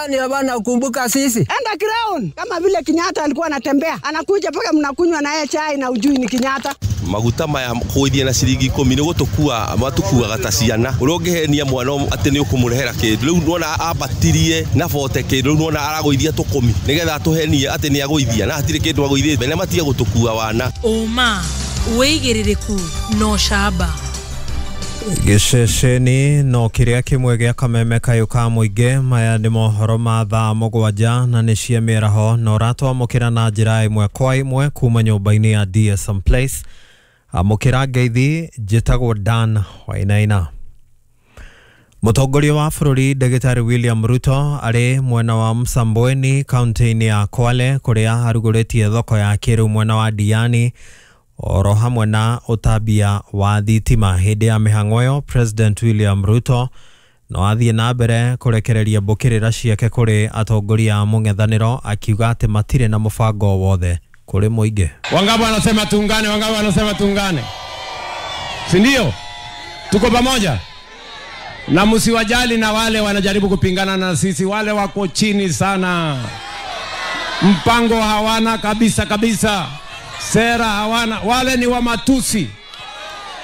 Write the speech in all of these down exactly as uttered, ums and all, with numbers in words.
Kwani hawana kumbuka sisi? Enda ground kama vile Kenyatta alikuwa anatembea, anakuja paka mnakunywa na yeye chai na ujui ni Kenyatta. Maguta maya kũithia na ciringi ikũmi nĩ gũtũkua matukuaga ta ciana ũrĩa ũngĩhenia mwana atĩ nĩ ũkũmũrehera kĩndũ rĩu nĩwona ambatirie na bote kĩndũ rĩu nĩwona aragũithia tũkũmi nĩgetha atũhenie atĩ nĩ agũithia na hatirĩ kĩndũ agũithĩte na matige gũtũkua wana. Ũma wĩigĩrĩrĩku no camba. Gĩceceni no kĩrĩa kĩmwe gĩa kameme kayũ ka mũingĩ. Maya nĩ mohoro ma thaa mũgwanja na nĩ cia mĩaraho na ũratwamũkĩra na njĩra ĩmwe kwa ĩmwe kuma nyũmba-inĩ ya D S M Place. Amũkĩra ngeithi, njĩtagwo Dan Wainaina. Mũtongoria wa bũrũri Ndagĩtarĩ William Ruto arĩ mwena wa Msambweni kaunti-inĩ ya Kwale kũrĩa arugũrĩtie thoko ya kĩrĩu mwena wa Diani oro hamwe na ũtambia wa thitima. Hĩndĩ ya mĩhang'o ĩyo President William Ruto no athiĩ na mbere kũrekereria mbũkĩrĩra ciake kũrĩ atongoria a mũng'ethanĩro akiuga atĩ matirĩ na mũbango wothe kũrĩ mũingĩ. Wangapi wanasema tuungane? Wangapi wanasema tuungane? Si ndio? Tuko pamoja. Na msiwajali na wale wanajaribu kupingana na sisi, wale wako chini sana. Mpango hawana kabisa kabisa. Sera hawana, wale ni wa matusi.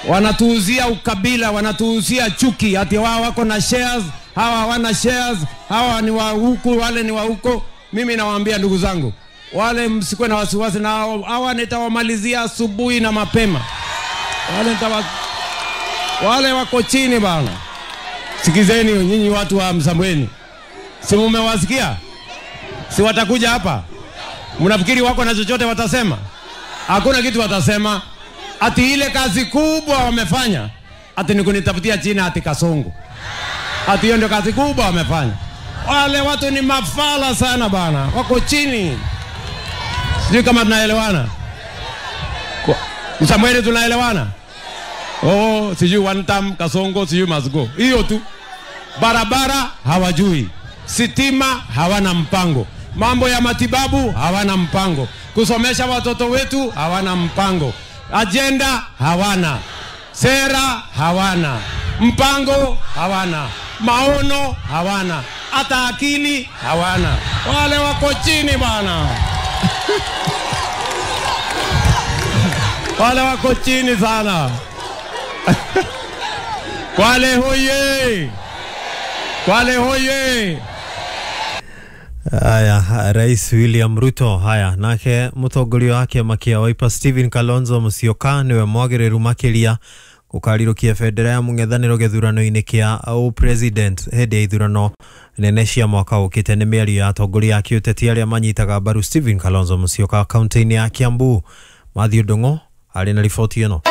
Wanatuuzia ukabila, wanatuuzia chuki, ati wao wako na shares, hawa hawana shares, hawa ni wa huku, wale ni wa huko. Mimi nawaambia ndugu zangu, wale msikuwe na wasiwasi na hawa nitawamalizia asubuhi na mapema. Wale nitawa, wale wako chini bana. Sikizeni nyinyi watu wa Msambweni. Si mmewasikia? Si watakuja hapa? Mnafikiri wako na chochote watasema? Hakuna kitu watasema. Ati ile kazi kubwa wamefanya, ati ni kunitafutia jina ati Kasongo. Ati hiyo ndio kazi kubwa wamefanya. Wale watu ni mafala sana bana, wako chini. Sijui kama tunaelewana. Msambweni tunaelewana? Oh, sijui one time Kasongo, sijui must go. Hiyo tu. Barabara hawajui. Sitima hawana mpango. Mambo ya matibabu hawana mpango. Kusomesha watoto wetu hawana mpango. Agenda hawana. Sera hawana. Mpango hawana. Maono hawana. Hata akili hawana. Wale wako chini bana. Wale wako chini sana. Kwale hoye. Kwale hoye. Aya, Rais William Ruto haya nake mũtongoria wa kĩama kĩa Wiper Stephen Kalonzo Musyoka nĩwe mwagĩrĩru makĩria gũkarirũkia bendera ya mũng'ethanĩro gĩthurano-inĩ kĩa president hĩndĩ ya ithurano nene cia mwaka ũkĩte. Nĩ mĩario ya atongoria a kĩũteti arĩa manyitaga mbaru Stephen Kalonzo Musyoka kaunti-inĩ ya Kiambu. Matthew Ndung'u arĩ na riboti ĩno.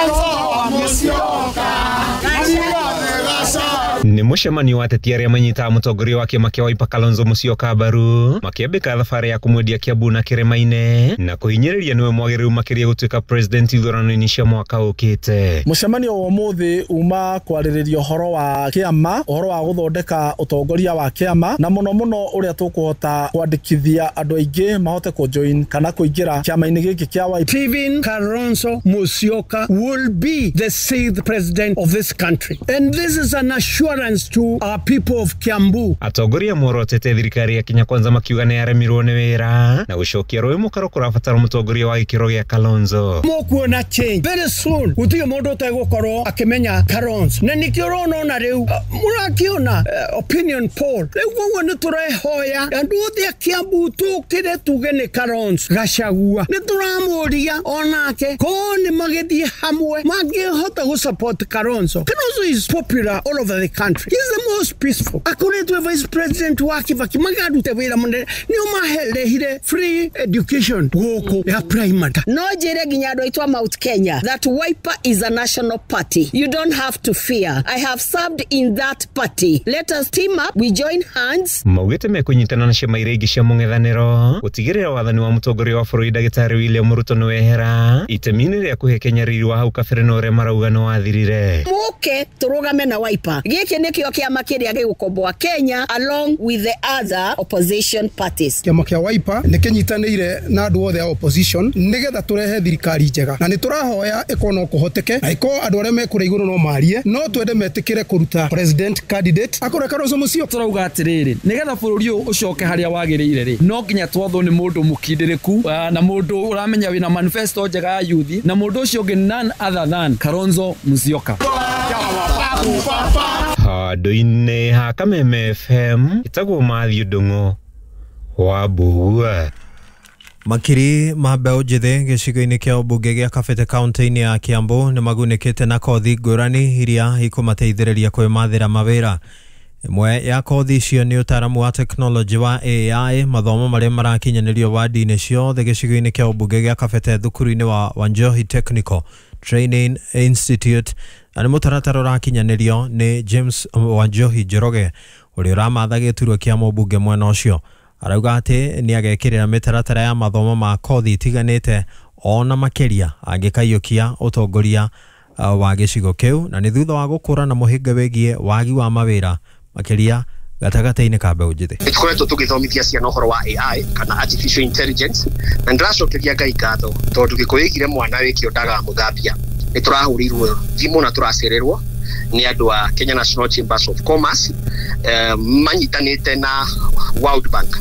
Ni mũcemanio wa ateti arĩa manyitaga mũtongoria wa kĩama kĩa Wiper Kalonzo Musyoka mbaru makĩambĩka thabarĩ ya kũmwendia Kiambu na Kĩrĩma-inĩ na kũhinyĩrĩria nĩwe mwagĩrĩru makĩria gũtuĩka president ithurano-inĩ cia mwaka ũkĩte. Mũcemanio wa ũmũthĩ uma kwarĩrĩria ũhoro wa kĩama, ũhoro wa gũthondeka ũtongoria wa kĩama na mũno mũno ũrĩa tũkũhota kwandĩkithia andũ aingĩ mahote kũjoin kana kũingĩra kĩama-inĩ gĩkĩ kĩa Wiper. Stephen Kalonzo Musyoka will be the sixth president of this country, and this is an assurance to our people of Kiambu. Atongoria morotete thirikari ya Kenya Kwanza makiuga nĩ yaremirwo nĩ wĩra na gũcokia rũĩ mũkaro kũrabatara mũtongoria wa gĩkĩro gĩa Kalonzo. Mũkuona change very soon. Gũtirĩ mũndũ ũtegũkorwo akĩmenya Kalonzo, na nĩkĩo ũrona ona rĩu mũrakĩona opinion poll. Rĩu koguo nĩ tũrehoya andũ othe a Kiambu tũkĩre tuge nĩ Kalonzo Gachagua. Nĩ tũramũria onake ko nĩ magĩthiĩ hamwe mangĩhota gũ support Kalonzo. Kalonzo is popular all over the country. He's the most peaceful. Akoretwe vice president wa Kibaki magarute wira munene nio maherehire free education gũkũ ya primary. No njĩre nginya andũ aitũ a Mount Kenya that Wiper is a national party. You don't have to fear. I have served in that party. Let us team up. We join hands. Maugĩte mekũnyitana na ciama iria ingĩ cia mũng'ethanĩro gũtigĩrĩra wathani wa mũtongoria wa bũrũri Ndagĩtarĩ William Ruto nĩwehera itemi-inĩ rĩa kũhe Kenya riri wa hau kabere na ũrĩa marauga nĩ wathirire. Mũke tũrũgame na Wiper. Gĩkĩ Gĩkĩ nĩkĩo kĩama kĩrĩa gĩgũkomboa Kenya along with the other opposition parties. Kĩama kĩa Wiper nĩ kĩnyitanĩire na andũ othe a opposition nĩgetha tũrehe thirikari njega, na nĩ tũrahoya ĩkorwo no kũhoteke na ĩkorwo andũ arĩa me kũrĩa igũrũ no marie, no twende metĩkĩre kũruta president candidate akorwo Kalonzo Musyoka. Tũrauga atĩrĩrĩ, nĩgetha bũrũri ũyũ ũcoke harĩa wagĩrĩire rĩ, no nginya twathwo nĩ mũndũ mũkindĩrĩku na mũndũ ũramenya wĩna manifesto njega ya youth, na mũndũ ũcio ũngĩ none other than Kalonzo Musyoka. Handũ-inĩ ha Kameme F M ĩtagwo Matthew Ndung'u wa Mbugua. Makiri ma mbeũ njĩthĩ gĩcigo-inĩ kĩa ũmbunge gĩa Kabete kaunti-inĩ ya Kiambu nĩ magunĩkĩte na kothi ngũrani iria ikũmateithĩrĩria kwĩmathĩra mawĩra. Ĩmwe ya kothi icio nĩ ũtaaramu wa tekinoronjĩ wa A I, mathomo marĩa marakinyanĩrio wadi-inĩ ciothe gĩcigo-inĩ kĩa ũmbunge gĩa Kabete thukuru-inĩ wa Wanjohi Technical Training Institute, na nĩ mũtaratara ũrakinyanĩrio nĩ James Wanjohi Njoroge ũrĩa ũramatha gĩturwa kĩa mũmbunge mwena ũcio. Arauga atĩ nĩ agekĩrĩra mĩtaratara ya mathomo ma kothi itiganĩte ona makĩria angĩkaiyũkia ũtongoria wa gĩcigo kĩu, na nĩ thutha wa gũkũra na mũhĩnga wĩgiĩ wagi wa mawĩra makĩria gatagatĩ-inĩ ka mbeũ njĩthĩ. Nĩ tũkoretwo tũgĩthomithia ciana ũhoro wa A I kana artificial intelligence, na ndĩracokeria Ngai ngatho tondũ Gĩkũyũ ĩgire mwana wĩkĩo ndagamũthambia. Nĩ tũrahũrĩirwo thimũ na tũracererwo nĩ andũ a Kenya National Chambers of Commerce, eh, manyitanĩte na World Bank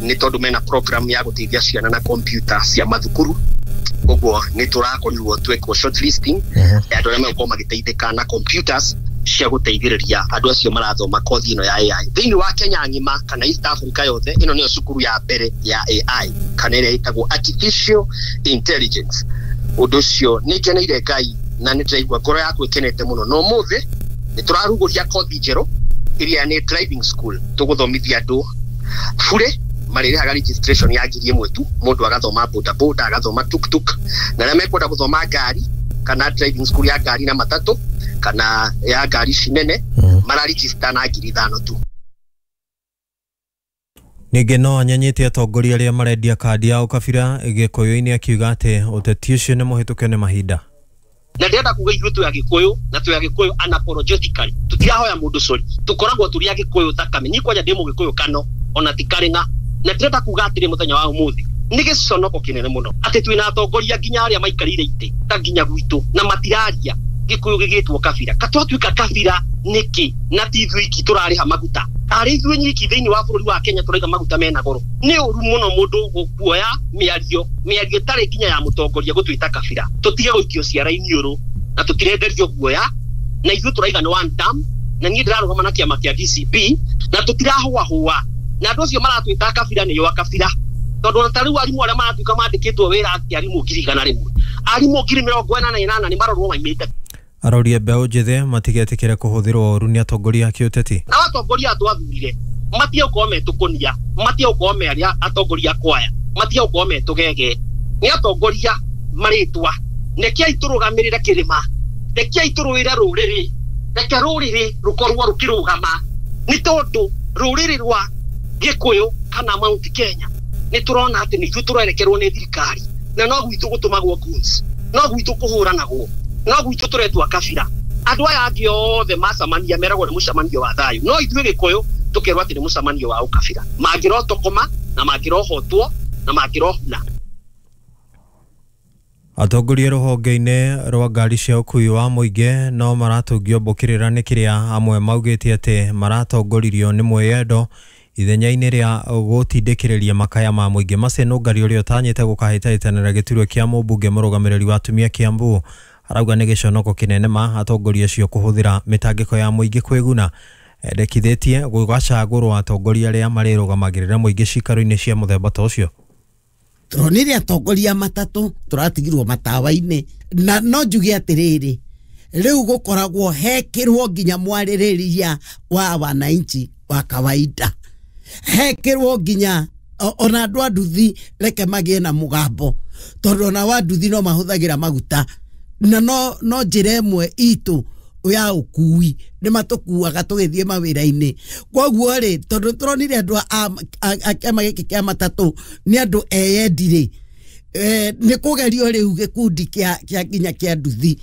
nĩ tondũ mena program ya gũteithia ciana na computer cia mathukuru. Koguo nĩ tũrakorirwo twekwo shortlisting ya andũ arĩa megũkorwo magĩteithĩka na computers cia gũteithĩrĩria andũ acio marathoma kothi ĩno ya A I thĩinĩ wa Kenya ng'ima kana East Africa yothe. Ĩno nĩyo cukuru ya mbere ya A I kana ĩrĩa ĩtagwo artificial intelligence. Ũndũ ũcio nĩ ngeneire Ngai na nĩ ndĩraigua ngoro yakwa ĩkenete mũno. No ũmũthĩ nĩ tũrarugũria kothi njerũ ĩrĩa nĩ driving school. Tũgũthomithia andũ bure, marĩrĩhaga registration ya ngiri ĩmwe tu, mũndũ agathoma boda boda, agathoma tuktuk, na arĩa mekwenda gũthoma ngari kana driving school ya ngari na matatũ kana ya ngari ici nene mararegister na ngiri ithano tu. Ningĩ no anyenyete atongoria arĩa marendia kandi ya ũkabira Gĩkũyũ-inĩ akiuga atĩ ũteti ũcio nĩ mũhĩtũke nĩ mahinda. Na ndĩrenda kuga ithuĩ twĩ Agĩkũyũ na twĩ Agĩkũyũ unapologetically, tũtirahoya mũndũ sorry, tũkoragwo tũrĩ Agĩkũyũ thakame. Niĩ kwanja ndĩ Mũgĩkũyũ kano ona ti karĩng'a, na ndĩrenda kuga atĩrĩ mũthenya wa ũmũthĩ nĩ gĩconoko kĩnene mũno atĩ twĩna atongoria nginya arĩa maikarĩire itĩ ta nginya gwitũ na matiraria Gĩkũyũ gĩgĩtwo kabira. Katwatuĩka kabira nĩkĩ na ti ithuĩ iki tũrarĩha maguta? Arĩ ithuĩ nyiki thĩinĩ wa bũrũri wa Kenya tũraiga maguta mena goro. Nĩ ũru mũno mũndũ gũkuoya mĩario mĩario ĩtarĩ nginya ya mũtongoria gũtwĩta kabira. Tũtige gũikio ciara-inĩ ũrũ na tũtirenderio guoya, na ithuĩ tũraiga nĩ one term, na niĩ ndĩrarũgama na kĩama kĩa D C P na tũtirahũahũa, na andũ acio maratwĩta kabira nĩo akabira, tondũ ona ta rĩu arimũ arĩa maratuĩka mandĩkĩtwo wĩra atĩ arimũ ngiri igana rĩmwe, arimũ ngiri mĩrongo ĩnana na ĩnana nĩ marorwo maimĩte. Aroria mbeũ njĩthĩ matigetĩkĩre kũhũthĩrwo ũru nĩ atongoria a kĩũteti. Na atongoria aya twathurire matige gũkorwo me tũkũnia, matige gũkorwo me arĩa atongoria kwaya, matige gũkorwo me tũgege. Nĩ atongoria marĩtwa, rekei tũrũgamĩrĩre kĩrĩma, rekei tũrũĩre rũrĩrĩ, reke rũrĩrĩ rũkorwo rũkĩrũgama, nĩ tondũ rũrĩrĩ rwa Gĩkũyũ kana Mount Kenya nĩ tũrona atĩ nĩ ithuĩ tũrerekerwo nĩ thirikari, na no gwitũ gũtũmagwo goons, no gwitũ kũhũranagwo, no gwitũ tũretwo kabira. Andũ aya angĩ othe macamania meragwo nĩ mũcemanio wa thayũ, no ithuĩ Gĩkũyũ tũkerwo atĩ nĩ mũcemanio wa ũkabira. Mangĩrotokoma na mangĩrohotwo na mangĩrohuna. Atongoria rũhonge-inĩ rwa ngari cia ũkuui wa mũingĩ no maratũngio mbũkĩrĩra nĩ kĩrĩa amwe maugĩte atĩ maratongoririo nĩ mwĩyendo ithenya-inĩ rĩa gũtindĩkĩrĩria makaya ma mũingĩ. Mace Nũngari ũrĩa ũtanyĩte gũkahĩtahĩtanĩra gĩturwa kĩa mũmbunge mũrũgamĩrĩri wa atumia Kiambu arauga nĩ gĩconoko kĩnene ma atongoria acio kũhũthĩra mĩtangĩko ya mũingĩ kwĩguna. Endekithĩtie gũgacagũrwo atongoria arĩa marĩrũgamagĩrĩra mũingĩ cikaro-inĩ cia mũthemba ta ũcio. Turonire atongoria matatũ tũratigirwo matawa-inĩ, na no njuge atĩrĩrĩ, rĩu gũkoragwo hekĩrwo nginya mwarĩrĩria wa wananchi wa kawaida, hekĩrwo nginya ona andũ a nduthi reke magĩe na mũgambo, tondũ ona wa nduthi no mahũthagĩra maguta, na no no njĩra ĩmwe itũ ya ũkui nĩ matũkuaga tũgĩthiĩ mawĩra-inĩ. Koguo rĩ, tondũ tũronire andũ a kĩama gĩkĩ kĩa matatũ nĩ andũ eyendi rĩ, nĩ kũgerio rĩu gĩkundi kĩa nginya kĩa nduthi.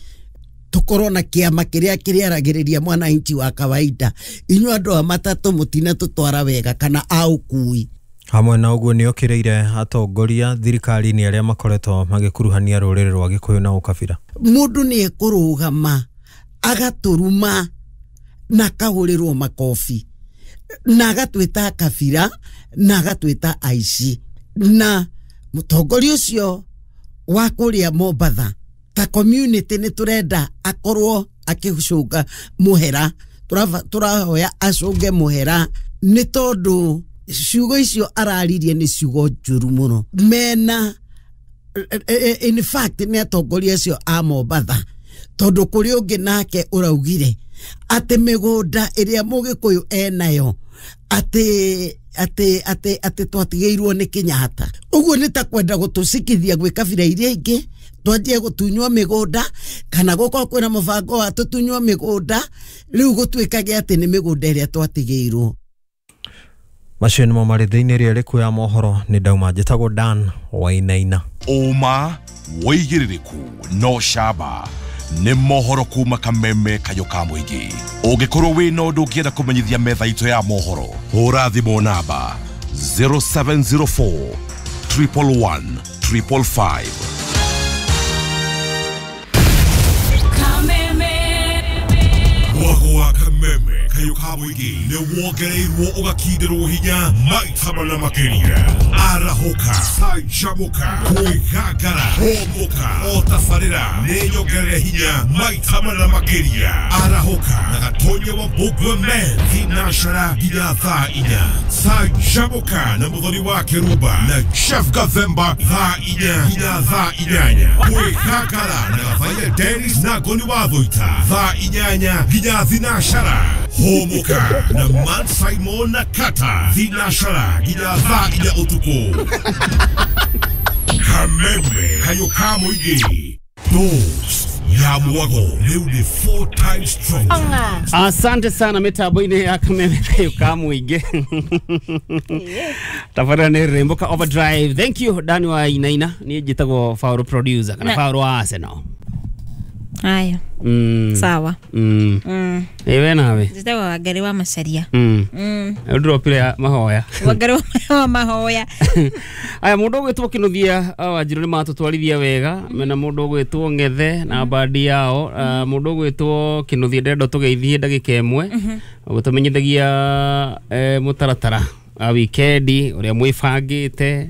Tukorwo na kiama kiria kiriaragiriria mwananchi wa kawaida. Inyuĩ andũ a matatũ mũtina tũtwara wega kana a ũkui. Hamwe na ũguo nĩ okĩrĩire atongoria thirikari-inĩ arĩa makoretwo magĩkuruhania rũrĩrĩ rwa Gĩkũyũ na ũkabira. Mũndũ nĩ ekũrũgama agatũruma na akahũrĩrwo makobi na agatwĩta kabira na agatwĩta aici. Na mũtongoria ũcio wa kũrĩa Mombatha ta community nĩ tũrenda akorwo akĩcũnga mũhera, tũrahoya acũnge mũhera nĩ tondũ ciugo icio araririe nĩ ciugo njũru mũno. Mena in fact nĩ atongoria acio a Mombatha, tondũ kũrĩ ũngĩ nake ũraugire atĩ mĩgũnda ĩrĩa Mũgĩkũyũ enayo atĩ atĩ atĩ atĩ twatigĩirwo nĩ Kenyatta. Ũguo nĩ ta kwenda gũtũcikithia gwĩ kabira iria ingĩ twanjie gũtunywo mĩgũnda kana gũkorwo kwĩna mũbango wa tũtunywo mĩgũnda, rĩu gũtuĩkage atĩ nĩ mĩgũnda ĩrĩa twatigĩirwo. Macio nĩmo marĩ thĩinĩ ĩrĩa ĩrĩkuo ya mohoro. Nĩ ndauma njĩtagwo Dan Wainaina. Ũma wĩigĩrĩrĩku no camba nĩ mohoro kuma Kameme Kayũ ka Mũingĩ. Ũngĩkorwo wĩna ũndũ ũngĩenda kũmenyithia metha itũ ya mohoro, hũra thimũ namba zero seven zero four triple one triple five. Mwago wa Kameme Kayũ ka Mũingĩ nĩ wongereirwo ũgakindirwo hinya maita mana makĩria. Arahũka, canjamũka, kwĩgangara, hũmũka, o tabarĩra nĩ nyongerere hinya maita mana makĩria. Arahũka na Gatonya wa Mbũgua Men thinacara nginya thaa inya. Canjamũka na Mũthoni wa Kĩrumba na Chef Gathemba thaa inya nginya thaa inyanya. Kwĩgangara na Gathaiya Dennis na Ngoni wa Thũita thaa inyanya nginya thinacara. Hũmũka na Man Simon na Kata thinacara nginya thaa inya ũtukũ. Kameme Kayũ ka Mũingĩ, dose ya mwago rĩu nĩ four times stronger. Asante sana mitambo-inĩ ya Kameme Kayũ ka Mũingĩ. Tabarĩra nĩ rwĩmbo ka Overdrive. Thank you Dani wa Inaina. Niĩ njĩtagwo Fauro producer kana Fauro wa Arsenal. Haya. Mm. Sawa. Mm. Mm. Ewe nawe. Njĩtagwo Wangari wa Macaria. Mm. Mm. Ndropire mahoya. Wangari wa mahoya. Aya mũndũ ũgwĩtwo Kĩnuthia Wanjirũ nĩ matũtwarithia wega mena mũndũ ũgwĩtwo Ng'ethe na bandi yao. Mũndũ ũgwĩtwo Kĩnuthia ndĩrenda tũgeithie ndagĩka ĩmwe gũtũmenyithagia mũtaratara wa wikendi ũrĩa mwĩbangĩte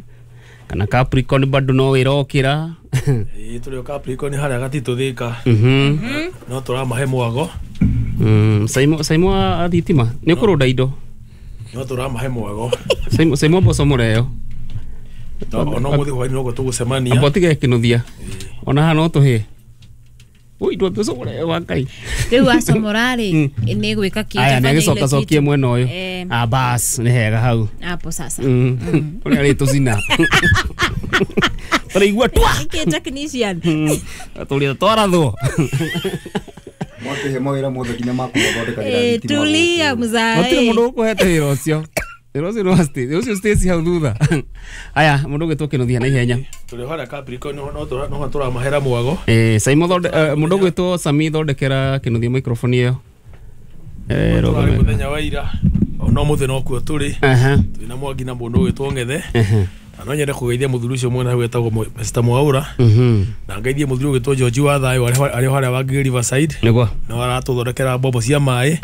kana Capricorn bado no ĩrokĩra. Ĩĩ tũrĩ o Capricorn harĩa gatitũ Thĩka. No tũramahe mwago. Saimo Saimo a thitima nĩ ũkũrũnda indo. No tũramahe mwago. Saimo Saimo mboco mũreo. No mũthĩ hwaĩ-inĩ noguo tũgũcemania. Amba ũtige Kĩnuthia. Ona haha no tũhĩe. Ui ndwa mboco mũreo wa Ngai. Rĩu acomora rĩ nĩ gwĩka kĩ. Aya nĩ agĩcoka cokie mwena ũyũ. Ah bas nĩ hega hau. Hapo sasa. Ũrĩa arĩtũcina. Tũraigua twa. Nĩkĩ technician. Tũrĩa twarathwo. Mwatũhe mawĩra mothe nginya ma kũmathondekagĩra thitima. Tulia mzae. Gũtirĩ mũndũ ũkũhete wĩra ũcio. Wĩra ũcio nĩ wa Stacy. Ũcio Stacy hau thutha. Aya mũndũ ũgwĩtwo Kĩnuthia na ihenya. Tũrĩ harĩa Capricorn no tũramahera mwago. Eh Saimo thonde mũndũ ũgwĩtwo Sami thondekera Kĩnuthia microphone ĩyo. Eh rũgame. Mũthenya wa ira no mũthĩ nokuo tũrĩ. Twĩna Mwangi na mũndũ ũgwĩtwo Ng'ethe. No nyende kũgeithia mũthuri ũcio mwena wetagwo Mister Mwaura. Na ngeithie mũthuri ũgwĩtwo George wa Thayũ arĩ harĩa Wangigĩ Riverside. Nĩguo. No aratũthondekera mbombo cia maĩ.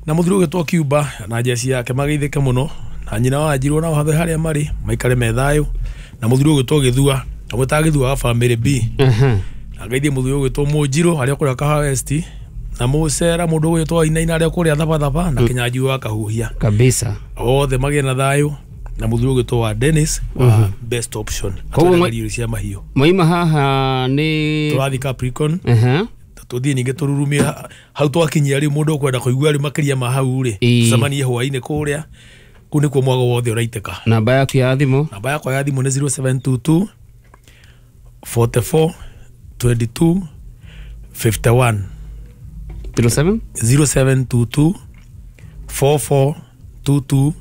Na mũthuri ũgwĩtwo Cuba na jeshi yake mageithĩke mũno na nyina wa Njirũ nao hathe harĩa marĩ maikare me thayũ. Na mũthuri ũgwĩtwo Gĩthua amwĩtaga Gĩthua wa family B. Na ngeithie mũthuri ũgwĩtwo Mũnjirũ arĩa kũrĩa Kahawa West na Mũcera mũndũ ũgwĩtwo Inaina arĩa kũrĩa Thabathaba na Kĩnyanjui wa Kahuhia. Kabisa. Othe magĩe na thayũ. Na mũthuri ũgwĩtwo wa Dennis wa Best Option. Koguo irio cia mahiũ. Moima haha nĩ tũrathiĩ Capricorn. Tũthiĩ ningĩ tũrurumie hau twakinyia rĩu mũndũ ũkwenda kũigua rĩu makĩria ma hau rĩ tũcemanie hwaĩ-inĩ kũrĩa kũu nĩkuo mwago wothe ũraitĩka. Namba yaku ya thimũ? Namba yakwa ya thimũ nĩ zero seven two two forty four twenty two fifty one. zero seven? zero seven two two four four two two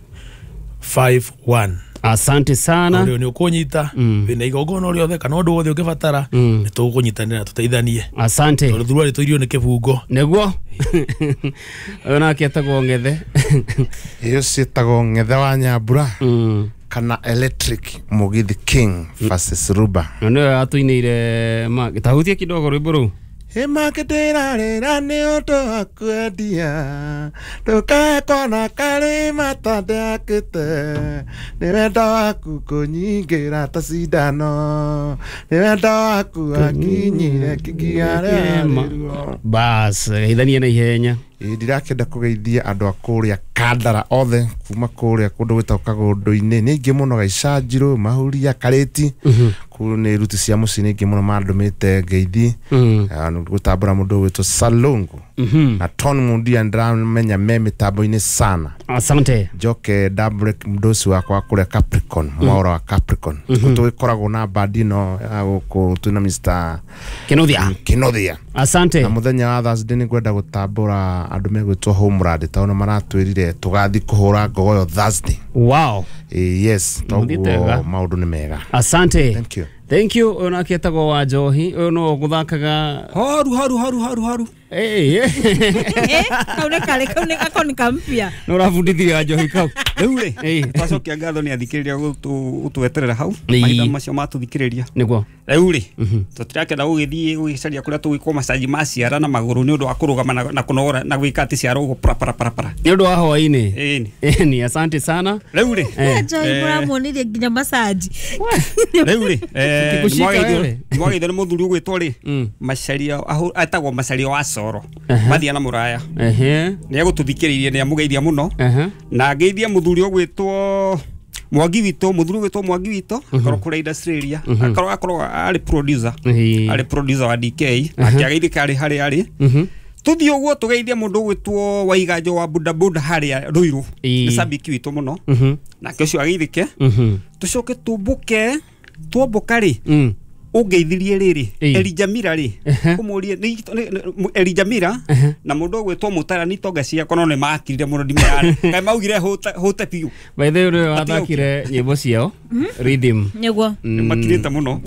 five one. Asante sana. Ũrĩa nĩ ũkũnyita wĩna igongona rĩothe kana ũndũ wothe ũngĩbatara nĩ tũgũkũnyitanĩra tũteithanie. Asante. Tondũ thuruarĩ tũirio nĩ kĩbungo. Nĩguo. Ũyũ nake etagwo Ng'ethe. Iyo ciĩtagwo Ng'ethe wa Nyambura kana Electric Mugithi King versus Ruba. Na nĩwe atũinĩire ma tahutie kidogo rwĩmbo rũu. Ĩmakĩndĩrarĩra nĩ ũndũ wa kwendia ndũkae kona karĩ matandĩakĩte nĩ wendo waku kũnyingĩra ta cindano nĩ wendo waku wakinyire kĩgiarĩruo. Bas geithania na ihenya. Ĩ ndirakĩenda kũgeithia andũ a kũrĩa Kandara othe kuma kũrĩa kũndũ gwĩtagwo Kagũndũ-inĩ nĩ aingĩ mũno Gaicanjirũ Mahuria Karĩti kũu nĩ ruti cia mũciĩ nĩ aingĩ mũno mandũmĩte ngeithi gũtambũra mũndũ ũgwĩtwo Salongo na Tony Mundia ndĩramenya me mĩtambo-inĩ sana. Asante. Njoke ndambũre mũndũ ũcio wakwa kũrĩa Capricorn mwaũra wa Capricorn tũgĩkoragwo na bandi ĩno ya gũkũ twĩna Mister Kinothia Kinothia. Asante. Na mũthenya wa Thursday nĩ ngwenda gũtambũra andũ megwĩtwo Homeland tondũ maratwĩrire tũgathiĩ kũhũra ngogoyo Thursday. Wow. Eh, yes, toguo maũndũ nĩ mega. Asante. Thank you. Thank you. Ũyũ nake etagwo wa Njohi. Ũyũ no gũthakaga horu horu horu horu horu. Eh, eh, kau nĩ karĩ kau nĩ gako nĩ kampya. Nĩ ũrabundithirie wa Njohi kau. Rĩu rĩ, twacokia ngatho nĩ athikĩrĩria gũtweterera hau mahinda macio matũthikĩrĩria. Nĩguo. Rĩu rĩ, tũtirakenda gũgĩthiĩ gũgĩcaria kũrĩa tũgwĩkwo macaji ma ciara na magũrũ nĩ ũndũ wa kũrũgama na kũnogora na gwĩka atĩ ciara ũguo para para para para. Nĩ ũndũ wa hwaĩ-inĩ. Ĩni. Ĩni, asante sana. Rĩu rĩ, Njohi mũramuonirie nginya macaji. Rĩu rĩ, nĩmwageithio nĩ mũthuri ũgwĩtwo rĩ, Macaria etagwo Macaria wa Coro. Mathia na mũraya. Nĩ egũtũthikĩrĩirie nĩ amũgeithia mũno. Na ngeithia mũthuri ũgwĩtwo Mwangi witũ, mũthuri ũgwĩtwo Mwangi witũ, akorwo kũrĩa Australia, akorwo akorwo arĩ producer, arĩ producer wa D K, akĩageithĩka arĩ harĩa arĩ. Tuthiĩ ũguo tũgeithie mũndũ ũgwĩtwo Waiganjo wa Buda Buda harĩa Ruiru, nĩ cabiki witũ mũno. Nake ũcio ageithĩke. Tũcoke tũmbũke, twambũka rĩ, ũngeithirie rĩrĩ Elijah Mira rĩ, ũmũrie Elijah Mira na mũndũ ũgwĩtwo Mũtara nĩ itonga ciakwa no nĩ makirire mũno ndimerane kaĩ maugire hũte biũ. By the way ũrĩa wathakire nyĩmbo ciao rhythm nĩguo nĩ makirĩte mũno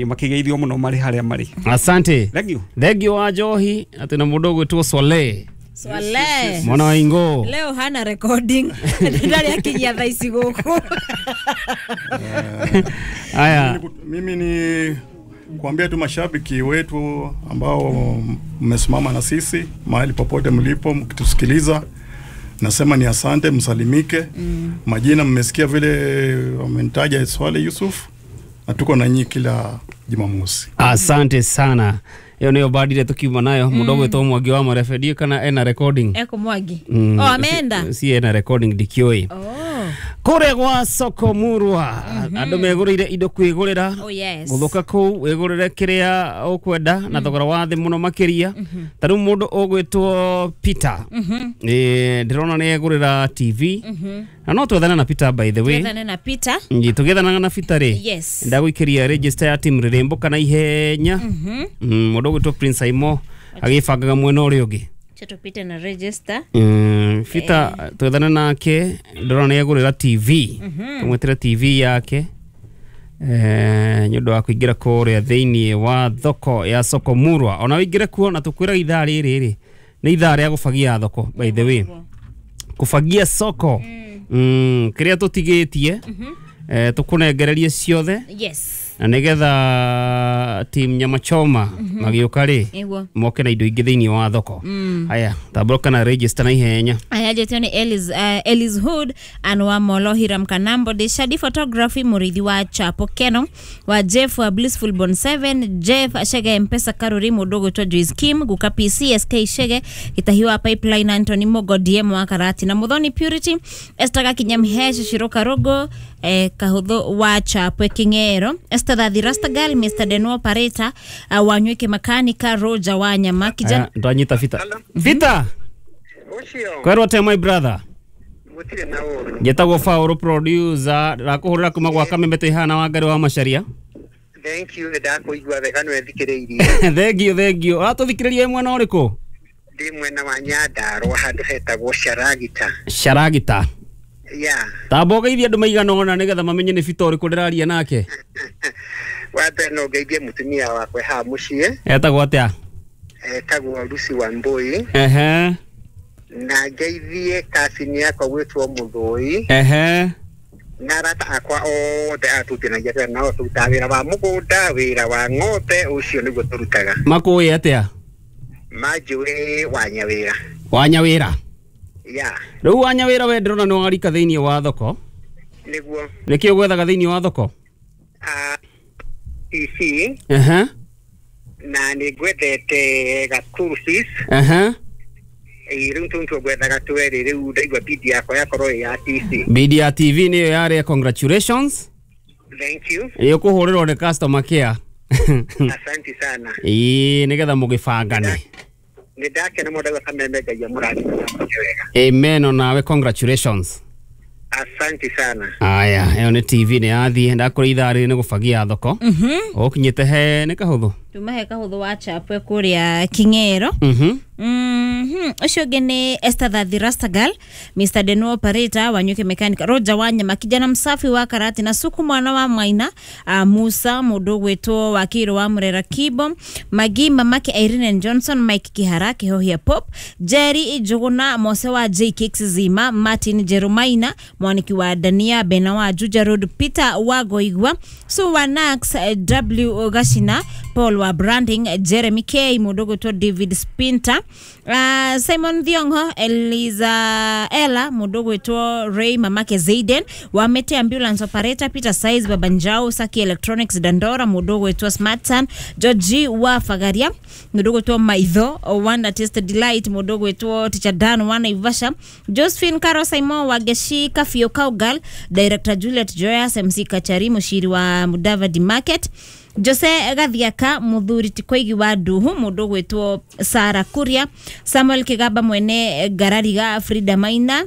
makĩgeithio mũno marĩ harĩa marĩ. Asante. Thank you. Thank you wa Njohi atĩ na mũndũ ũgwĩtwo Swale. Swale. Mwana wa Ingo. Leo hana recording. Ndari akinyia thaa ici gũkũ. Aya. Mimi ni kuambia tu mashabiki wetu ambao mmesimama na sisi mahali popote mlipo mkitusikiliza, nasema ni asante, msalimike. Mm. Majina mmesikia vile wamenitaja Swale Yusuf, na tuko na nyinyi kila Jumamosi. Asante sana. Iyo niyo badire tukiuma nayo mundu gwitwo Mwangi wa Marebedio kana ena recording. Eko Mwangi. Mm. Oh, ameenda. Si ena recording ndikioi. Oh. Kũrĩa gwa soko murwa andũ megũrĩire indo kwĩgũrĩra. Oh, yes. Gũthũka kũu wĩgũrĩre kĩrĩa ũkwenda na thogora wa thĩ mũno makĩria. Ta rĩu mũndũ ũgwĩtwo Peter, eh ndĩrona nĩ egũrĩra T V. Na no twethane na Peter by the way. Twethane na Peter. Ngi tũgĩethanaga na Peter rĩ. Yes. Ndagũikĩria register ya team Rĩrĩmbũ kana ihenya. Mũndũ ũgwĩtwo Prince Aimo agĩbangaga mwena ũrĩa ũngĩ. Tupite na register. Mm, Peter eh. Twethane nake ndĩrona nĩ egũrĩra T V. Tumwĩtĩre T V yake eh nĩ ũndũ wa kũingĩra kũrĩa thĩinĩ wa thoko ya soko murwa. Ona ũingĩre kuo na tũkwĩra ithaa rĩrĩ rĩ nĩ ithaa rĩa gũbagia thoko by the way. Kũbagia soko. Mm, kĩrĩa tũtigĩtie eh tũkũnengererie ciothe. Yes. Na nigetha team nyama choma magĩũka rĩ moke na indo ingĩ thĩinĩ wa thoko. Haya, tambũrũka na register na ihenya. Aya jetio nĩ Elis uh, Elis Hood Anwa Molo Hiram Kanambo de Shadi Photography Murithi wa Chapo Keno wa Jeff wa Blissful Bon seven Jeff Ashege Mpesa Karuri mũndũ gwĩtwo Joyce Kim Guka P C S K Shege Gitahiwa Pipeline Anthony Mogo D M wa Karati na Muthoni Purity Esther Gakinyamhesh Shiroka Rogo eh, Kahutho wa Chapo Kingero Esther Thathi Rastagal Mister Denwo Pareta uh, Wanywike Makanika Roger Wanyama kijana ndanyita Vita. Vita Kwerwo te my brother. Njetagwo Fauro producer rakuhurira kuma gwa Kameme twihana wa Ngari wa Macharia. Thank you ndakuigua wega nĩ thikĩrĩirie. Thank you, thank you. Ũratũthikĩrĩria mwena ũrĩkũ? Ndĩ mwena wa Nyandarua handũ hetagwo Sharagita. Sharagita. Yeah. Tamba ũgeithie andũ maigana ũna nĩgetha mamenye nĩ Bita ũrĩkũ ndĩraria nake. Wa mbere no ngeithie mũtumia wakwa haha mũciĩ. Etagwo atĩa? Etagwo Lucy Wambui. Ehe. Na ngeithie kasini yakwa gwĩtwo Mũthũi. Ehe. Na arata akwa othe atutinagia wĩra nao tũrutaga wĩra wa mũgũnda, wĩra wa ng'ombe, ũcio nĩguo tũrutaga. Makũĩ atĩa? Manjũĩ wa Nyawĩra. Wa Nyawĩra? Yeah. Rĩu wa Nyawĩra we ndĩrona nĩ warika thĩinĩ wa thoko. Nĩguo. Nĩkĩ ũgwethaga thĩinĩ wa thoko? T C. Ehe. Na nĩ ngwendete ga school fees. Ehe. Ĩĩ rĩu tũntũ ngwethaga twerĩ rĩu ndaigua bidi yakwa yakorwo ĩ ya T C. Bidi ya T V nĩyo yarĩa, congratulations. Thank you. Ĩ ũkũhũrĩrwo nĩ customer care. Asante sana. Ĩĩ nĩgetha mũgĩbangane. Nĩ ndakena mũno ndaigua kameme Ngai amũrathime na amwĩke wega. Amen onawe congratulations. Asante sana. Aya, ĩyo nĩ T V nĩ yathiĩ ndakũrĩ ithaa rĩrĩ nĩ gũbagia thoko. Mhm. Ũkinyĩte he nĩ kahũthũ. Tuma he kahũthũ wa chapwe kũrĩa King'ero. Mhm. Mhm. Ũcio ũngĩ nĩ Esther Thathi Rastagal, Mister Deno Operator wa Nyuki Mechanic, Roger Wanyama kijana msafi wa karate na suku mwana wa Maina, uh, Musa mũndũ gwĩtwo Wakiro wa Murera Kibo, Magi mamake Irene Johnson, Mike Kihara Kihohia Pop, Jerry Njuguna Mose wa J Kicks Zima, Martin Jerumaina mwaniki wa Dania Bena wa Juja Road, Peter wa Goigwa, Su wa Nax, W Gashina, Paul wa Branding, Jeremy K mũndũ gwĩtwo David Spinter, Uh, Simon Thiongo, Eliza Ella mũndũ gwĩtwo Ray mamake Zaiden wa Mete Ambulance Operator, Peter Size Babanjao Saki Electronics Dandora mũndũ gwĩtwo Smartson, George wa Fagaria mũndũ gwĩtwo Maitho Wanda Taste Delight mũndũ gwĩtwo Teacher Dan wa Naivasha, Josephine Caro Simon wa Geshi Kafio Kaugal, Director Juliet Joyas, M C Kachari mũciri wa Mudavadi Market, Jose Gathiaka muthuri ti koigi wa Nduhu mũndũ gwĩtwo Sara Kuria, Samuel Kigaba mwene Garariga, Frida Maina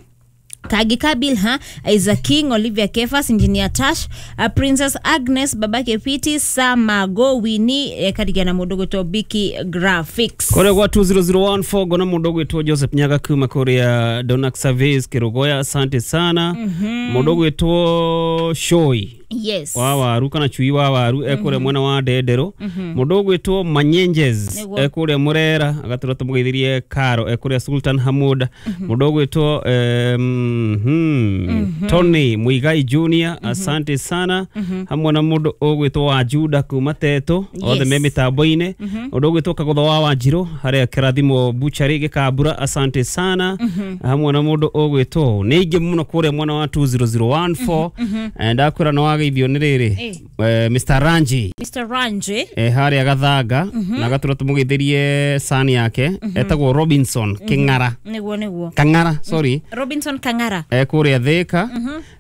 Kagika Bilha, Isaac King, Olivia Kefas, Engineer Tash, uh, Princess Agnes, Babake Piti, Samago Winnie, eh, Karigana mũndũ gwĩtwo Biki Graphics. Kũrĩa gwa two zero zero one four gona mũndũ gwĩtwo Joseph Nyaga kuma kũrĩa Donak Surveys Kirogoya, asante sana. Mũndũ gwĩtwo Shoi. Yes. Wa waru kana chui wa waru ekure mwena wa Ndendero. Mũndũ ũgwĩtwo Manyenjes ekure Murera agatũra tũmũgeithirie Karo ekure Sultan Hamud. Mũndũ ũgwĩtwo mm, Tony Muigai Junior, asante sana. Hamwe na mũndũ ũgwĩtwo wa Juda kuma Teto othe me mĩtambo-inĩ. Mũndũ ũgwĩtwo Kagotho wa Wanjirũ harĩa Kĩrathimo Butchery Gĩkambura, asante sana. Hamwe na mũndũ ũgwĩtwo nĩ aingĩ mũno kũrĩa mwena wa two zero zero one four ndakwĩra no wagaithio nĩ rĩrĩ Mister Ranji, Mister Ranji eh harĩa Gathanga na gatura tũmũgeithirie sani yake etagwo Robinson King'ara. Nĩguo nĩguo Kang'ara, sorry, Robinson Kang'ara eh kũrĩa Thika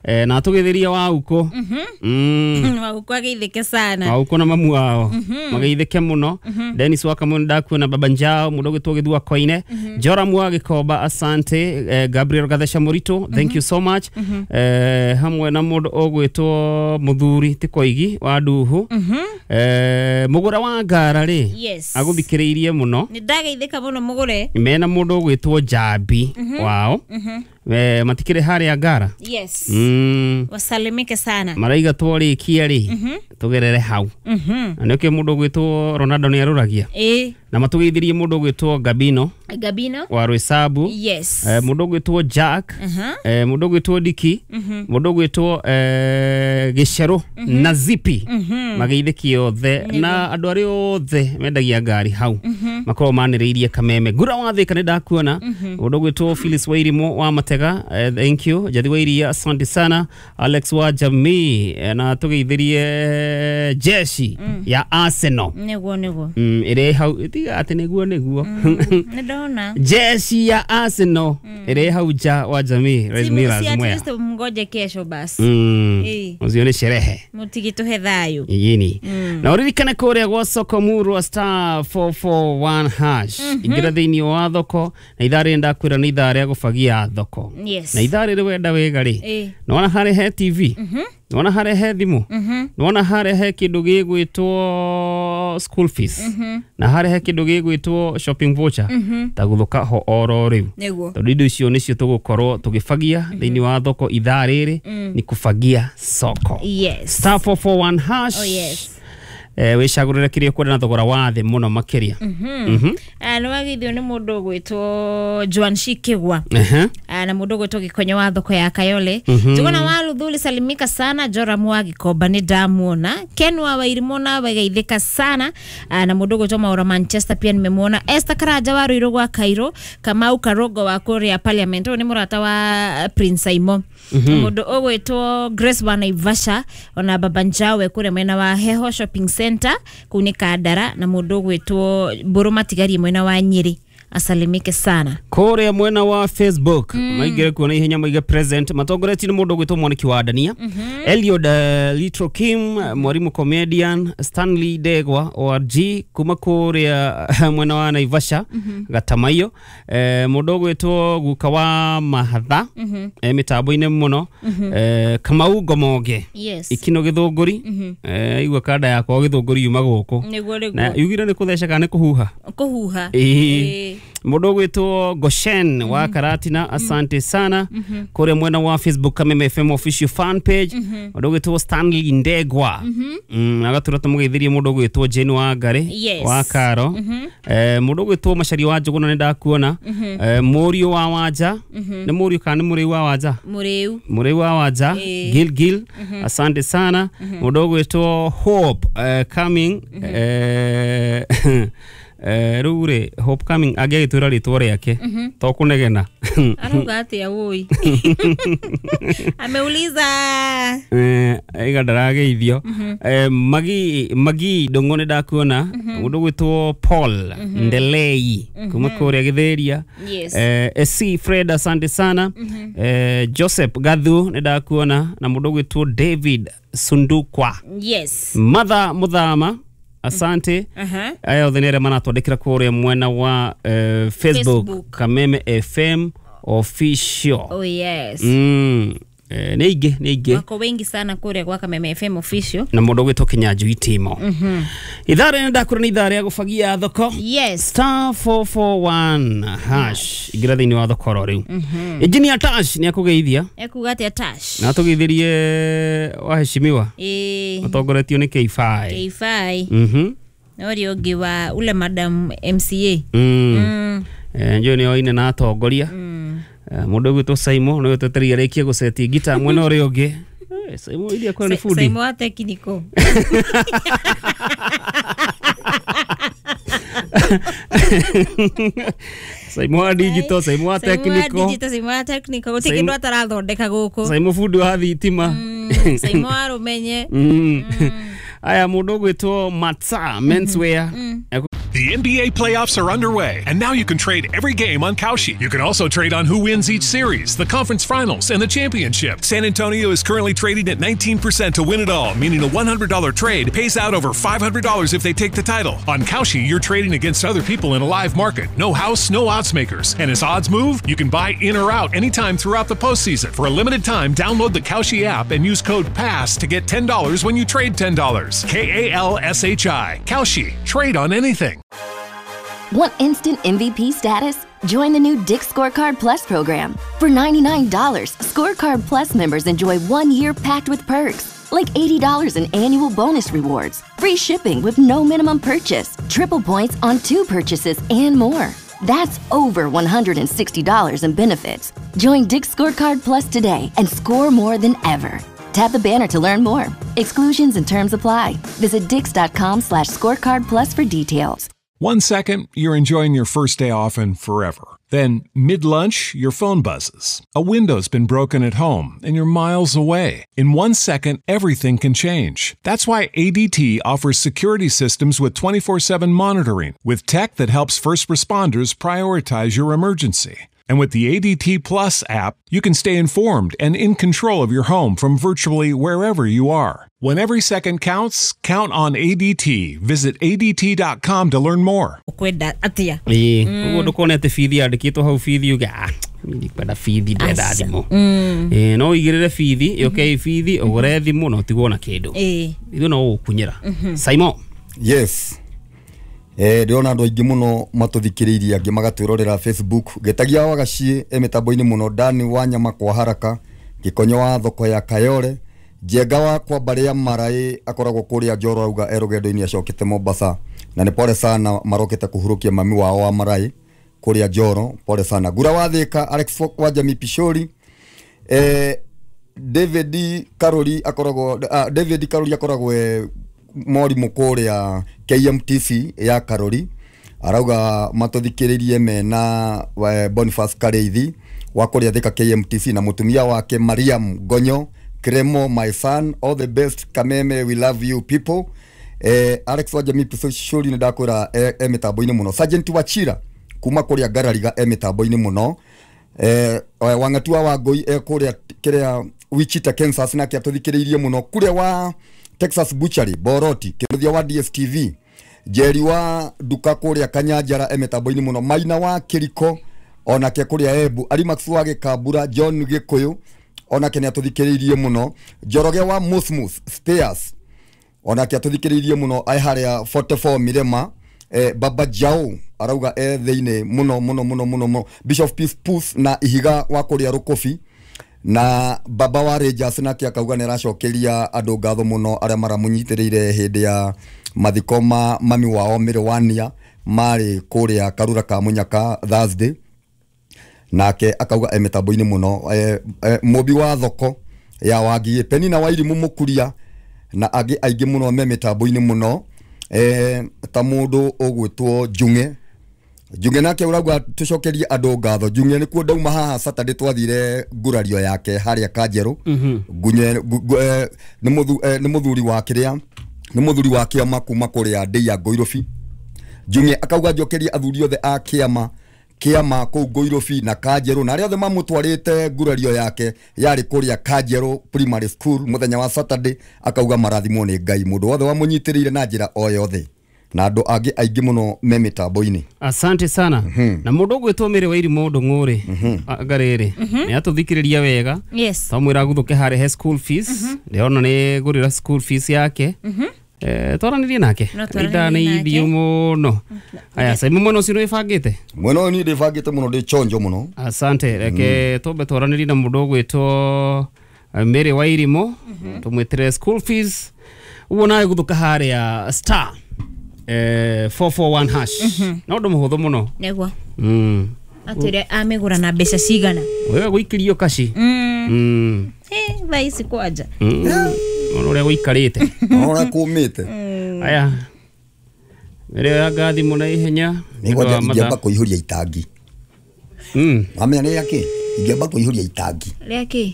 eh na tũgeithirie wa uko mm wa uko ageithĩke sana, wa uko na mamu wao mageithĩke mũno. Dennis wa Kamau ndakuona Baba Njao mũndũ ũgwĩtwo Gĩthua Koine, Joram wa Gĩkomba, asante. eh, Gabriel Gathesha Morito, thank you so much. eh hamwe na mũndũ ũgwĩtwo Muthuri ti Koigi wa Nduhu, eh mũgũra wa ngara rĩ agũthikĩrĩirie mũno, nĩ ndageithĩka mũno mũgũre mena mũndũ ũgwĩtwo Jambi wao eh matikire harĩa ngara. Yes. Mm. Wasalimike sana. Maraiga twarĩkia rĩ tugerere hau. Na nĩkĩo mũndũ ũgwĩtwo Ronaldo nĩ arũragia. Eh. Na matũgeithirie mũndũ ũgwĩtwo Gabino. Gabino wa Rwĩcabu. Yes. Eh mũndũ ũgwĩtwo Jack. Eh mũndũ ũgwĩtwo Diki. Mũndũ ũgwĩtwo eh Gĩcerũ na Zipi. Mageithĩkie othe na andũ arĩa othe mendagia ngari hau. Makorwo manĩrĩirie kameme. Ngura wa Thika nĩ ndakuona. Mũndũ ũgwĩtwo Phyllis Wairimu wa Matega, eh, thank you. Jathi Wairia, asante sana. Alex wa Jamii eh, na tũgeithirie jeshi mm. ya Arsenal. Nĩguo nĩguo. Mm, ĩrĩ hau tiga atĩ nĩguo nĩguo. Nĩ ndona. Jeshi ya Arsenal ĩrĩ hau nja wa Jamii. Si at least mngoje kesho basi. Mm. Ũcio nĩ sherehe. Mũtigitũhe thayũ. Yini. Na ũririkane kũrĩa gwa soko murwa star four four one hash. Ingĩra thĩinĩ wa thoko na ithaa rĩrĩ ndakwĩra nĩ ithaa rĩa gũbagia thoko. Yes. Na ithaa rĩrĩ wenda wega rĩ. Nĩwona harĩa he T V. Nĩwona harĩa he thimũ. Nĩwona harĩa he kĩndũ gĩgwĩtwo gĩgwĩtwo school fees Mhm. na harehe kĩndũ gĩgwĩtwo shopping voucher Mhm. ta gũthũka ho oro rĩu Nĩguo. tondũ indo icio nĩcio tũgũkorwo tũgĩbagia thĩinĩ wa thoko ithaa rĩrĩ Mm. ni kufagia soko. Yes. Star four four one hash. Oh yes. Eh, wĩcagũrĩre kĩrĩa ũkwenda na thogora wa thĩ mũno makĩria. Mhm. Mhm. Ah, nĩ wageithio nĩ mũndũ ũgwĩtwo Joan Shikigwa. Ehe. Ah, na mũndũ ũgwĩtwo Gĩkonyo wa thoko ya Kayole. Mhm. Njuguna wa Luthuli salimika sana Joram wa Gikomba nĩ ndamuona. Ken wa Wairimũ nawe geithĩka sana. Ah, na mũndũ ũgwĩtwo Maura Manchester pia nimemuona. Esther Karanja wa Ruiru gwa Cairo, Kamau Karogo wa kũrĩa Parliament, ũyũ nĩ mũrata wa Prince Aimo. Mhm. Mũndũ ũgwĩtwo Grace wa Naivasha ona Baba Njawe kũrĩa mwena wa Heho Shopping Center kũu nĩ Kandara, na mũndũ ũgwĩtwo Mbũrũ Matigari mwena wa Nyeri asalimike sana. Kũrĩa mwena wa Facebook mm. maingĩre kuona ihenya maige present matongoretio nĩ mũndũ ũgwĩtwo Mwaniki wa Dania, mm -hmm. Eliod uh, Litro Kim, mwarimu comedian Stanley Degwa O R G kuma kũrĩa mwena wa Naivasha mm -hmm. Gatamaiyo, eh, mũndũ ũgwĩtwo Guka wa Mahatha mm -hmm. eh, mĩtambo-inĩ mũno mm -hmm. eh, Kamau Ngomonge yes. Ikino Gĩthũngũri mm -hmm. eh, igua kanda yakwa Gĩthũngũri yuma gũkũ nĩguo nĩguo na yugire nĩ kũtheca kana nĩ kũhuha kũhuha ĩĩ mũndũ ũgwĩtwo Goshen mm -hmm. wa Karatina asante sana mm -hmm. kũrĩa mwena wa Facebook Kameme F M official fan page mũndũ mm -hmm. ũgwĩtwo Stanley Ndegwa mm -hmm. mm, agatũra tũmũgeithirie mũndũ ũgwĩtwo Jane wa Ngari yes. wa Karo mm -hmm. eh, mũndũ ũgwĩtwo Macaria wa Njũgũna nĩ ndakuona mm -hmm. eh, mũriũ wa Wanja mm -hmm. nĩ mũriũ kana nĩ mũrĩu wa Wanja mũrĩu mũrĩu wa Wanja e. Gil Gil mm -hmm. asante sana mũndũ mm -hmm. ũgwĩtwo Hope uh, coming mm -hmm. eh, eh rĩu rĩ Hope coming angĩagĩtwĩra rĩtwa rĩake to kũnegena arauga atĩa woi ameuliza eh iga ndarageithio eh magi magi ndongo nĩ ndakuona mũndũ gwĩtwo Paul Ndelei kuma kũrĩa Gĩthĩria eh S C Fred asante sana eh Joseph Gathu nĩ ndakuona na mũndũ gwĩtwo David Sundukwa yes Mother Muthama asante uh-huh. aya othe nĩ arĩa maratwandĩkĩra kũrĩa mwena wa uh, Facebook, Facebook. Kameme F M official. Oh yes. Mm. Eh, nĩ ingĩ nĩ ingĩ wako wengi sana kũrĩa gwa Kameme F M official na mũndũ ũgwĩtwo Kinyanjui Timo. Mhm. Ithaa rĩrĩ ndakũra nĩ ithaa rĩa gũbagia thoko. Yes. Star four four one hash ingĩra thĩinĩ wa thoko oro rĩu. Mhm. Engineer Tash nĩ akũgeithia ekuga atĩa Tash na atũgeithirie waheshimiwa ĩĩ matongoretio nĩ K five K five Mhm. na ũrĩa ũngĩ wa ule madam M C A mm. Mm. Eh, njũĩ nĩ oine na atongoria mm. Mũndũ ũgwĩtwo Saimo nĩwe twetereire arĩkie gũceti ngita mwena ũrĩa ũngĩ. Eh, Saimo iria kwa nĩ fundi Saimo wa technical Saimo wa digital, Saimo wa technical, digital, Saimo wa technical gũtirĩ kĩndũ atarathondeka gũkũ. Saimo fundi wa thitima, Saimo wa rũmenye. Aya mũndũ ũgwĩtwo Matsa menswear. The N B A playoffs are underway, and now you can trade every game on Kalshi. You can also trade on who wins each series, the conference finals, and the championship. San Antonio is currently trading at nineteen percent to win it all, meaning a one hundred dollar trade pays out over five hundred dollars if they take the title. On Kalshi, you're trading against other people in a live market. No house, no odds makers. And as odds move, you can buy in or out anytime throughout the postseason. For a limited time, download the Kalshi app and use code PASS to get ten dollars when you trade ten dollars. K A L S H I. Kalshi. Trade on anything. Want instant M V P status? Join the new Dick's Scorecard Plus program. For ninety-nine dollars, Scorecard Plus members enjoy one year packed with perks, like eighty dollars in annual bonus rewards, free shipping with no minimum purchase, triple points on two purchases, and more. That's over one hundred sixty dollars in benefits. Join Dick's Scorecard Plus today and score more than ever. Tap the banner to learn more. Exclusions and terms apply. Visit dicks.com slash scorecard plus for details. One second, you're enjoying your first day off and forever. Then, mid-lunch, your phone buzzes. A window's been broken at home, and you're miles away. In one second, everything can change. That's why A D T offers security systems with twenty-four seven monitoring, with tech that helps first responders prioritize your emergency. And with the A D T Plus app, you can stay informed and in control of your home from virtually wherever you are. When every second counts, count on A D T. Visit A D T dot com to learn more. Kwenda atia. Ĩĩ, ũguo ndũkone atĩ bithi yandĩkĩtwo hau bithi uge ah, ndikwenda bithi ndĩrenda thimũ. Ĩĩ, no ũigĩrĩre bithi, yũke ĩ bithi, ũgũre thimũ na ũtigwo na kĩndũ. Ĩĩ. Ithuĩ no gũgũkunyĩra. Saimo. Yes. Eh ndĩrona andũ aingĩ mũno matũthikĩrĩirie angĩ magatwĩrorera Facebook. Gĩtagia wa Gaciĩ e mĩtambo-inĩ mũno, Dani wa Nyama kwa Haraka, Gĩkonyo wa thoko ya Kayore, Njenga wa kwa mbarĩ ya Maraĩ akoragwo kũrĩa Njoro auga e rũgendo-inĩ acokete Mombasa, na nĩ pole sana marokete kũhurũkia mami wao wa Maraĩ kũrĩa Njoro, pole sana. Gura wa Thĩka, Alex wa Jamii Pishori, eh David Karori akoragwo ah, David Karori akoragwo e mwarimũ kũrĩa K M T C ya Karori, arauga matũthikĩrĩrie mena Boniface Kareithi wa kũrĩa Thĩka K M T C na mũtumia wake Mariam Gonyo Kremo, my son, all the best Kameme, we love you people. Eh, Alex wa Jamii Pishori nĩ ndakwĩra e, e mĩtambo-inĩ mũno. Sergeant Wachira kuma kũrĩa Ngarariga e mĩtambo-inĩ mũno. Eh, Wang'atua wa Ngũi e kũrĩa kĩrĩa Wichita Kansas nake atũthikĩrĩirie mũno. Kũrĩa wa Texas Butchery Boroti, Kĩruthia wa D S T V, Jerry wa Duka kũrĩa Kanyanjara e mĩtambo-inĩ mũno. Maina wa Kiriko onake kũrĩa Embu, Arimax wa Gĩkambura, John Gĩkũyũ onake nĩ atũthikĩrĩirie mũno. Njoroge wa Musmus Stairs onake atũthikĩrĩirie mũno ai harĩa forty-four Mirema. Eh, Baba Jao arauga e thĩinĩ mũno mũno mũno mũno mũno. Bishop Peace Puss na Ihiga wa kũrĩa Rũkũbi na Baba wa Rangers nake akauga nĩ aracokeria andũ ngatho mũno arĩa maramũnyitĩrĩire hĩndĩ ya mathiko ma mami wao Mĩrĩwania marĩ kũrĩa Karura ka Mũnyaka Thursday, nake akauga e mĩtambo-inĩ mũno. E, e, Mũmbi wa thoko ya Wangigĩ, Penina wa Irimũ Mũkuria na angĩ aingĩ mũno me mĩtambo-inĩ mũno. E, ta mũndũ ũgwĩtwo Njung'e Njung'e nake ũrauga tũcokerie andũ ngatho. Njung'e nĩkuo ndauma haha Saturday twathire ngurario yake harĩa Kanjerũ. Ngunye nĩ mũthuri wa kĩrĩa nĩ mũthuri wa kĩama kuma kũrĩa Ndei ya Ngũirũbi. Njung'e akauga njokerie athuri othe a kĩama kĩama kũu Ngũirũbi na Kanjerũ na arĩa othe mamũtwarĩte ngurario yake yarĩ kũrĩa Kanjerũ Primary School mũthenya wa Saturday, akauga marathimwo nĩ Ngai mũndũ wothe wamũnyitĩrĩire na njĩra o yothe na andũ angĩ aingĩ mũno me mĩtambo-inĩ. Asante sana. Mm -hmm. Na mũndũ ũgwĩtwo Mĩrĩ wa Irimũ Ndũng'ũrĩ mm -hmm. ngarĩrĩ mm -hmm. nĩ atũthikĩrĩria wega. Yes. Twamwĩra gũthũke harĩa he school fees. Mm -hmm. Ndĩrona nĩ ngũrĩra school fees yake. Mm -hmm. Eh, twaranĩrie nake ithaa nĩ ithiũ mũno. Aya Saimu, mwena ũcio nĩ wĩbangĩte? Mwena ũyũ niĩ ndĩbangĩte mũno, ndĩ chonjo mũno. Asante. Reke twambe twaranĩrie na mũndũ ũgwĩtwo Mĩrĩ wa Irimũ, tũmwĩtĩre school fees ũguo nawe gũthũka harĩa star eh four four one hash. No ũndũ mũhũthũ mũno. Nĩguo. Mm. Atwĩre amĩgũra na mbeca cigana. Wewe gũikĩrio kaci. Mm. Eh, thaa ici kwanja. Mm. Ona ũrĩa gũikarĩte. Ona ũrĩa kũmĩte. Aya. Mbere ya ngathi mũno ihenya. Nĩngwenda ingĩamba kũihũria itangi. Mm. Wamenya nĩ rĩa kĩ? Ingĩamba kũihũria itangi. Rĩa kĩ?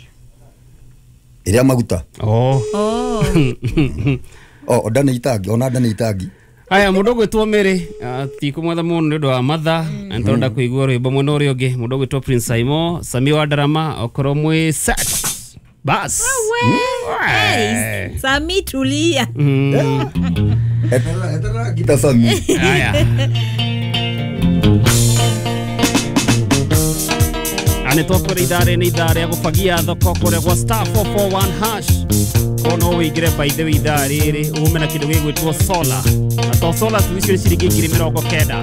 Rĩa maguta. Oh. Oh. Oh, ndane itangi, ona ndane itangi. Aya mũndũ ũgwĩtwo Mĩrĩ tikũmwetha mũno nĩ ũndũ wa mathaa na nĩtũrenda kũigua rwĩmbo mwena ũrĩa ũngĩ. Mũndũ ũgwĩtwo Prince Saimo Sami wa Ndarama okorwo mwĩ set bas. Hey, Sami tulia. Eterera eterera gita Sami. Aya. Ane twakwĩra ithaa rĩrĩ nĩ ithaa rĩa gũbagia thoko kũrĩa gwa star four four one hash. Kono wĩingĩre by the way ithaa rĩrĩ ume na kĩndũ gĩgwĩtwo solar. Na to solar tu icio nĩ ciringi ngiri mĩrongo kenda.